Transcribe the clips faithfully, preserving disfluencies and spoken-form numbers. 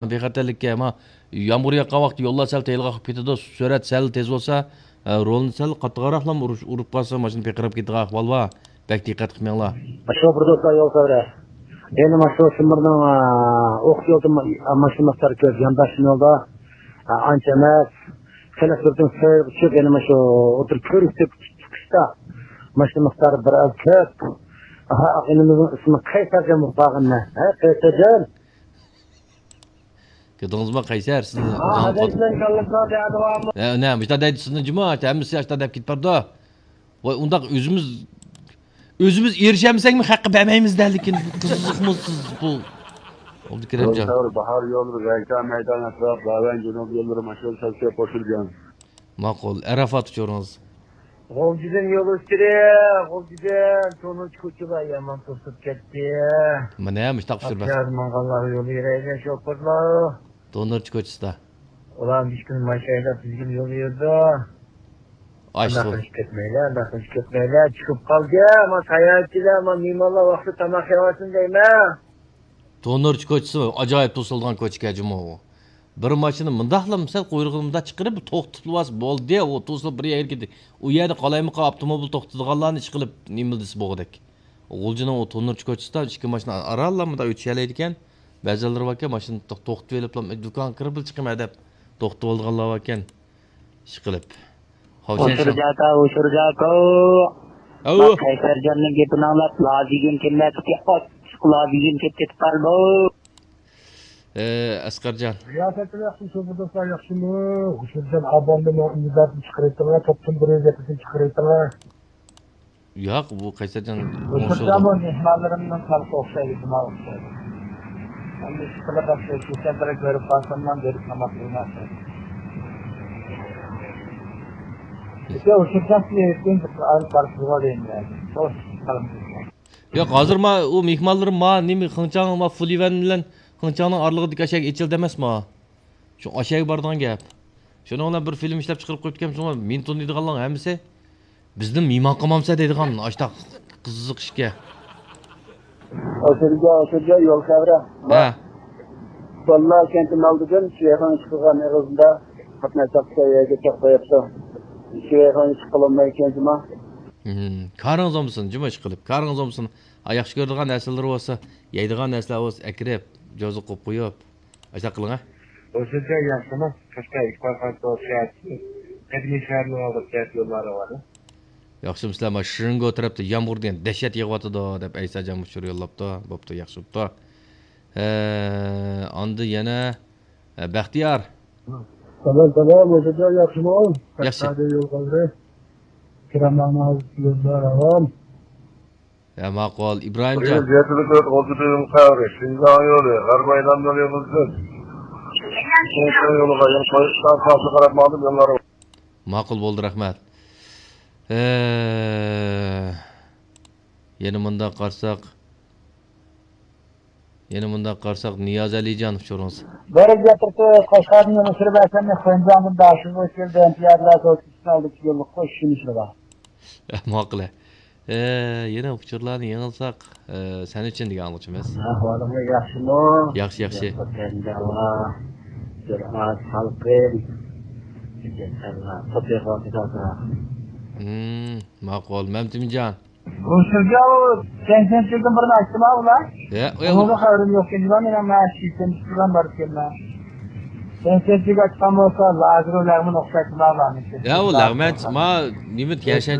بىخەتەرلىككە، ما يامغۇر ياغقان ۋاقىتتا يوللار سەل تېيىلغاق بولۇپ كېتىدۇ، سۈرئەت سەل تېز بولسا، ئە، رولنى سەل قاتتىقراقلا ئۇرۇش-، ئۇرۇپ قالسا، ماشىنا پىرقىراپ كېتىدىغان ئەھۋال بار. بەك دىققەت قىلىپ مېڭىڭلار. شوپۇر دوستلار، يول سەۋرە. يەنە مانا شۇ سىمىرنىڭ، ئە، ئوقۇش يولىدا ما-، ماشىنا مىقدارى كۆپ، يانداش يولدا، ئە، ئانچە ئەمەس. خېلى سۈرئىتىڭ سەل چۈشۈپ، يەنە مانا شۇ ئوتتۇرا كۆرۈكتە چىقىشتا ماشىنا مىقدارى بىر ئاز كۆپ. ئاھا، ئىنىمىزنىڭ ئىسمى قەيسەرجان بولۇپ قالغىنى. ھە، قەيسەرجان؟ كۆردىڭىزمۇ، قەيسەر، سىزنى ھە، نە، مۇشۇنداق دەيدۇ، سىزنى جۇمۇ، ھەممىسى ئاشتا دەپ كېتىپ بارىدۇ. ۋاي، ئۇنداق ئۆزىمىز، ئۆزىمىز ئېرىشەلمىسەكمۇ، خەققە بەرمەيمىز دە، لېكىن قىزىقمۇ سىز بۇ. ئابدۇكېرىمجان. باھار يولى، رەيكا مەيدان ئەتراپ، داۋەن جۇنۇب يوللىرى ماشىنا سەل كۆپ قوشۇلغان. ماقۇل، ئەرەفات ئۇچۇرىڭىز. غۇلجىدىن يول ئۈستىدە، غۇلجىدىن تونۇرچى كوچىلار يامان توسۇپ كەتتى. مانا مۇشتاق ئۇچۇر بەس. ئاپياز ماڭغانلار يول يۈرەيلى شوپۇرلار. تونۇرچى كوچىسىدا. ئۇلار مىشكىن ماشايدا تىزگىن يول يۈرىدۇ. ئاشۇ. ئانداق قىلىش كەتمەيلى، ئانداق قىلىش كەتمەيلى. چۈشۈپ قالدى، ئەمما ساياھەتچىلەر، ئەمما مېھمانلار ۋاقتىدا تاماق يەۋالسۇن دەيمەن. تونۇرچى كوچىسى ئاجايىپ توسۇلىدىغان كوچىكەن جۇمۇ ئۇ. بىر ماشىنا مۇنداقلا سەل قۇيرۇقىنى مۇنداق چىقىرىپ، توختىتىۋالسا بولدى، ئۇ توسۇلۇپ بىر يەرگە كېتىدۇ. ئۇ يەردە قالايمىقان ئاپتوموبىل توختىتىدىغانلارنى ئىشقىلىپ نېمىلدىسى بولغۇدەك. غۇلجىنىڭ ئۇ تونۇرچى كوچىسىدا ئىككى ماشىنا ئارانلا مۇنداق ئۆتۈشەلەيدىكەن. بەزىلىرى باركەن، ماشىنا توختىتىۋېلىپلا، دۇكانغا كىرىپلا چىقىمەن دەپ توختىتىۋالىدىغانلار باركەن. ئىشقىلىپ. ئۇشۇرجاكا، ئۇشۇرجاكا. ئاۋۇ. ما قەيسەرجاننىڭ گېپىنى ئاڭلاپ، لازىگىن كېمەكتى، ئاچچىق لازىگىن كېتىپ قالدى. ئە، ئەسقەرجان. رىياسەتچىلەر ياخشى، شوپۇر دوستلار ياخشىمۇ؟ ئۇشۇرجان ئابامنى مەن ئىمدادنى چىقىرىۋېتىڭلار، توپتىن بىر يۈز يەتمىشنى چىقىرىۋېتىڭلار. ياق، بۇ قەيسەرجان ئۇشۇرجان بۇ مېھمانلىرىمنىڭ خەلقى ئوخشايدۇ، شۇڭا ئوخشايدۇ. ئەمدى ئىشقىلىپ ئەسلى كۆرۈپ قالساملا بېرىپ ناماز قىلمايسەن. ئىشتە ئۇشۇرجان سىلەر ئېيتقىن، بىر ئايرىپ بارسىزغۇ دەيمەن. ياق، ھازىر ما ئۇ مېھمانلىرىم ما نېمە خېڭچاڭ ما فۇليۈەن بىلەن خېڭچاڭنىڭ ئارىلىقىدىكى ئاشەگە ئېچىلدى ئەمەسما؟ شۇ ئاشەگە بارىدىغان گەپ. شۇنىڭ بىلەن بىر فىلىم ئىشلەپ چىقىرىپ قويۇپتىكەن، شۇڭا مىنتون دەيدىغانلارنىڭ ھەممىسى بىزدىن مېھمان قىلمامسەن دەيدىغان ئاشتاق قىزىق ئىشكە. ئاشۇرجا، ئاشۇرجا يول خەۋىرى. ھە. باللا كەنتىنىڭ ئالدىدىن شىۋەيخۇاڭ چىقىدىغان ئېغىزىدا قاتناش تاختىسى يەرگە چاقلاياپتۇ. شىۋەيخۇاڭ چىققىلى بولمايدىكەن جۇما. ھىم، كارىڭىز بولمىسۇن، جۇما ئىشقىلىپ. كارىڭىز بولمىسۇن. ئا، ياخشى كۆرىدىغان نەرسىلىرى بولسا، يەيدىغان نەرسىلەر بولسا ئەكىرىپ، جوزا قويۇپ قويۇپ. ئاشۇنداق قىلىڭ، ھە؟ ئوشۇنچە ياخشىمۇ؟ قەشقەر ئىقبال خان توپ شەھەرچىسى. قەدىمىي شەھەرنىڭ ئالدىدا كەنت يوللارى بار. ياخشىمۇسىلەر؟ ما شىرىنگو تەرەپتە يامغۇر دېگەن دەھشەت يېغىۋاتىدۇ، دەپ ئەيساجان ئۇچۇر يوللاپتۇ. بوپتۇ، ياخشى بوپتۇ. ھە، ئاندىن يەنە، ھە، بەختىيار. سالام، سالام، ئوشۇنچە ياخشىمۇ؟ ياخشى. قەشقەردە يول قالدى. كىراملارنىڭ ھازىر يوللار راۋان. ھە، ماقۇل، ئىبراھىمجان. بۈگۈن يەتتە تۆت ئوتتۇز يول خەۋىرى، شىنجاڭ يولى، غەربىي ئايلانما يولىدىن شىنجاڭ يولىغا يول قويۇشتا ساقچى قاراپ ماڭدىم يوللارغا. ماقۇل بولدى، رەھمەت. ھە، يەنە مۇنداق قارىساق، يەنە مۇنداق قارىساق، نىياز ئەلىجان ئۇچۇرىڭىز. بەرىكەتلىك، قەشقەردىن يول سۈرۈپ ئەسەمنى خۇەنجاندىن داشىغا كەلدى، ئىمتىيازلار زور كۈچىنى ئالدى يوللۇق قوش شۇنى شۇلار. ماقۇل. ئە، يەنە ئۇچۇرلارنى يېڭىلساق، ئە، سەن ئۈچۈن دېگەن ئاڭلىغۇچىمىز. ئەھۋالىڭلار ياخشىمۇ؟ ياخشى، ياخشى. بىر ئاز سالقىن. توپ يېغىۋاتىدۇ ئازراق. ھىم، ماقۇل. مەمتىمجان. ئۇ سىزگە ئۇ سەكسەن سەككىزدىن بىرنى ئاچتىما ئۇلار؟ يا، ئۇ ئۇنىڭدا خەۋىرىم يوق ئىكەن، مانا مەن شىشەم چۈشۈرگەن بار ئىكەنمەن. سەكسەن سەككىز ئاچقان بولسا، لاگېر لەغمەن ئوخشايتتىما ئۇلارنىڭكى. يا، ئۇ لەغمەن، ما، نېمە، تيەنشەن.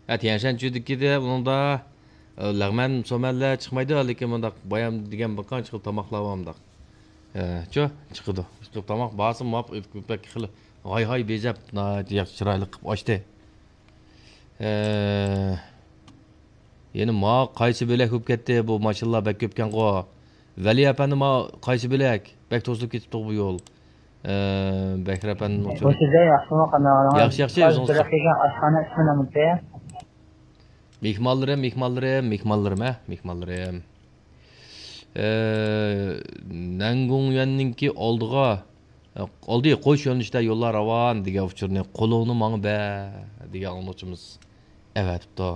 ھە، تيەنشەن چۈدىكىدە، ئۇنىڭدا، ئە، لەغمەن، سومەنلەر چىقمايدۇ، لېكىن مۇنداق بايام دېگەن بىر قانچە خىل تاماقلار بار مۇنداق. ئە، چۇ، چىقىدۇ. شۇ تاماق بارسا، ماپ، بەك خېلى ھاي-ھاي بېزەپ، ناھايىتى ياخشى، چىرايلىق قىلىپ ئاچتى. ئە، يەنە ما قايسى بۆلەك بولۇپ كەتتى؟ بۇ ماشىنىلار بەك كۆپكەنغۇ. ۋەلى ئەپەندى، ما قايسى بۆلەك؟ بەك توسۇلۇپ كېتىپتۇ بۇ يول. ئە، بەكرى ئەپەندىنىڭ ئۇچۇرى. بۇ سىزدە ياخشىمۇ، قانداق ئەھۋالىڭىز؟ ياخشى، ياخشى، ئۆزىڭىز. بىر دەقىقە، ئاشخانا ئىسمى نېمىتى؟ مېھمانلىرىم، مېھمانلىرىم، ھە، مېھمانلىرىم. ئە، نەنگۇڭيۈەننىڭكى ئالدىغا، ئالدى قوش يۆنىلىشتە يوللار راۋان دېگەن ئۇچۇرنى قولۇڭنى ماڭا بەر دېگەن ئاڭلىغۇچىمىز ئەۋەتىپتۇ.